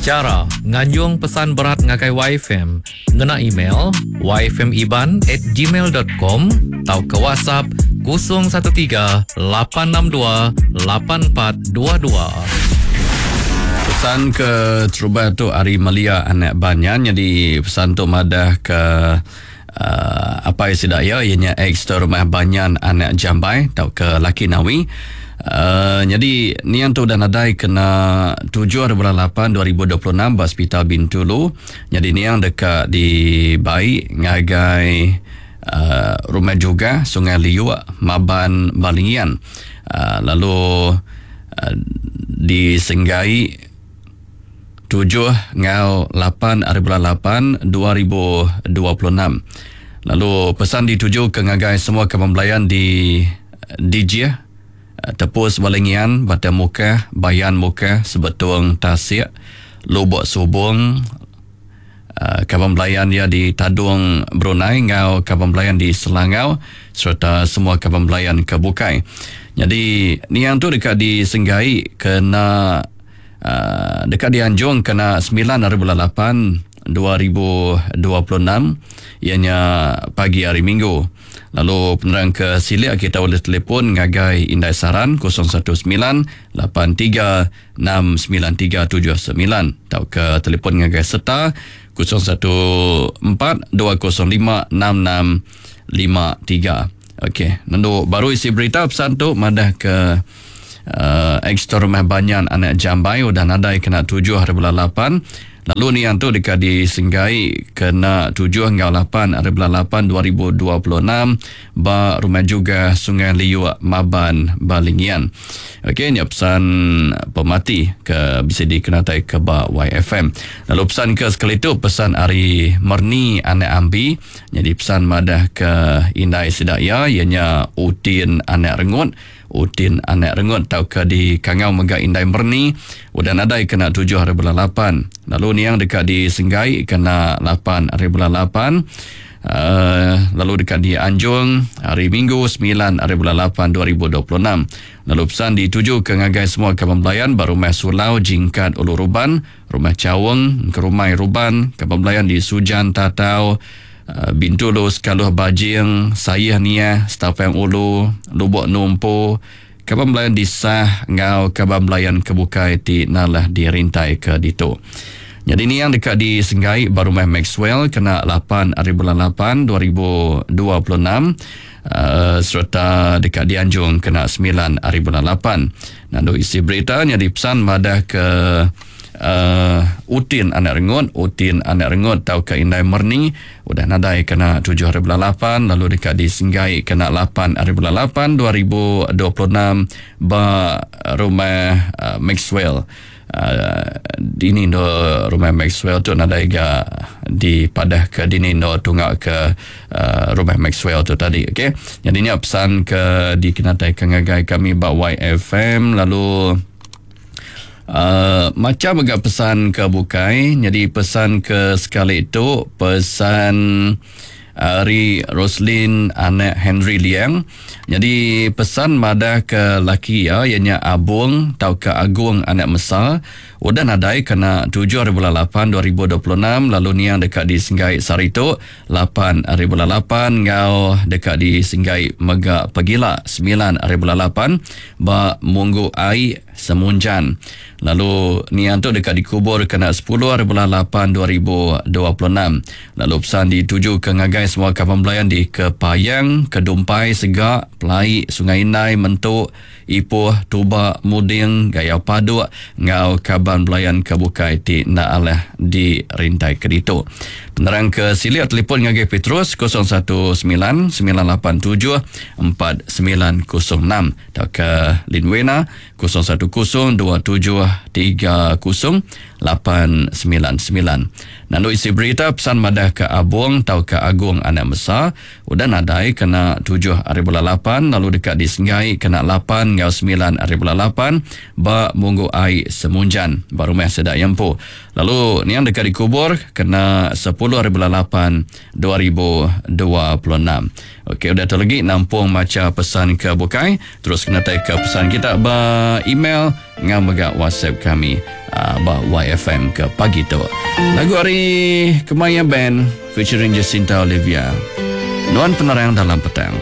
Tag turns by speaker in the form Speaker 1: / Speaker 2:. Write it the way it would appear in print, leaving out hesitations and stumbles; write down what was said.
Speaker 1: Chara nganjung pesan berat ngagai YFM ngena email yfmiban at gmail dot com tauka WhatsApp 013 862 8422.
Speaker 2: Pesan ke terubah tu ari Melia anak Banyan nyadi pesan tu madah ke uh, apai sida iya iya nya ex rumah Banyan anak Jambai tauka laki Nawi. Uh, nyadi niang tu udah nadai kena 7 hari bulan 8 2026 ba Hospital Bintulu. Nyadi niang deka dibai ngagai uh, Rumah Juga Sungai Liuk Maban Balingian. Uh, lalu uh, disenggai tujuh enggau lapan ari bulan lapan 2026. Lalu pesan dituju ke ngagai semua kaban belayan di Dijih, Tepus Balingian, Batang Mukah, Bayan Mukah, Sebetung Tasik, Lubok Subong, kaban belayan iya di Tadong Brunei enggau kaban belayan di Selangau sereta semua kaban belayan ke bukai. Nyadi niang tu deka disenggai kena uh, deka dianjung kena 9 hari bulan 8 2026 iya nya pagi hari Minggu. Lalu penerang ke silik kita ulih telefon ngagai Indai Saran 019 83 69379 tauka telefon ngagai Seta 014 205 6653. Okey, nendu baru isi berita pesan tu madah ke uh, ex rumah Banyan anak Jambai udah nadai kena 7 hari bulan 8. Lalu niang tu deka disenggai kena 7 enggau 8 hari bulan 8 2026 ba rumah juga Sungai Liuk Maban Balingian. Okey, nya pesan pemati ke bisa dikenatai ke ba YFM. Lalu pesan ke sekali tu pesan ari Merni anak Ambi. Jadi pesan madah ke indai sida iya ianya Utin anak Rengut. Utin anak Rengut tauka di Kangau mega Indai Merni udah nadai kena 7 hari bulan 8. Lalu niang deka disenggai kena 8 hari bulan 8. Uh, lalu deka dianjung hari Minggu 9 hari bulan 8 2026. Lalu pesan dituju ke ngagai semua kaban belayan ba Rumah Sulau Jingkat Ulu Ruban, Rumah Chaung, Kerumai Ruban, kaban belayan di Sujan Tatau, Bintulu Sekaluh Bajing, Sayih Niah, Setapang Ulu, Lubok Numpu, kaban belayan di Sah enggau kaban belayan ke bukai ti nalah dirintai ke ditu. Nyadi niang deka disenggai ba Rumah Maxwell kena 8 hari bulan 8 2026 uh, sereta deka dianjung kena 9 hari bulan 8. Nandu isi berita nyadi pesan madah ke uh, Utin anak Rengut, Utin anak Rengut tauka Indai Merni udah nadai kena 7 hari bulan 8 lalu deka disenggai kena 8 hari bulan 8 2026 ba rumah uh, Maxwell. Uh, dini do rumah Maxwell tu nadai ga dipadah ke dini do tunga ke uh, rumah Maxwell tu tadi, okey. Jadi ni pesan ke dikenatai ke ngagai kami ba YFM. Lalu Uh, macam agak pesan ke bukai. Jadi pesan ke sekali itu pesan ari Roslin anak Henry Liang. Jadi pesan madah ke laki iya ianya Abung tauka Agung anak Mesa udah nadai kena 7 hari bulan 8 2026 lalu niang deka disenggai sehari tu 8 hari bulan 8 enggau deka disenggai mega pagila 9 hari bulan 8 ba Munggu Ai Semunjan. Lalu niang tu deka dikubur kena 10 hari bulan 8 2026. Lalu pesan dituju ke ngagai semua kaban belayan di Kepayang, Kedumpai, Sega, Pelai, Sungai Indai, Mentu, Ipoh, Tuba, Muding, Gayau Paduk enggau kaban belayan ke bukai ti enda alah dirintai ke ditu. Penerang ke silik telefon ngagai Petrus 019 987 4906 tauka Linwena 010 27 30 899. Nandu isi berita pesan madah ke Abung tauka Agung anak Mesa udah nadai kena 7 hari bulan 8 lalu deka disenggai kena 8 enggau 9 hari bulan 8 ba Munggu Ai Semunjan ba rumah sida iya empu. Lalu niang deka dikubur kena 10 hari bulan 8 2026. Okey, udah tu lagi nampung macha pesan ke bukai. Terus kena tai ke pesan kita ba email Ngau mega WhatsApp kami uh, ba YFM ke pagi tu. Lagu ari Kemaya Band featuring Jacinta Olivia. Nuan penerang dalam petang.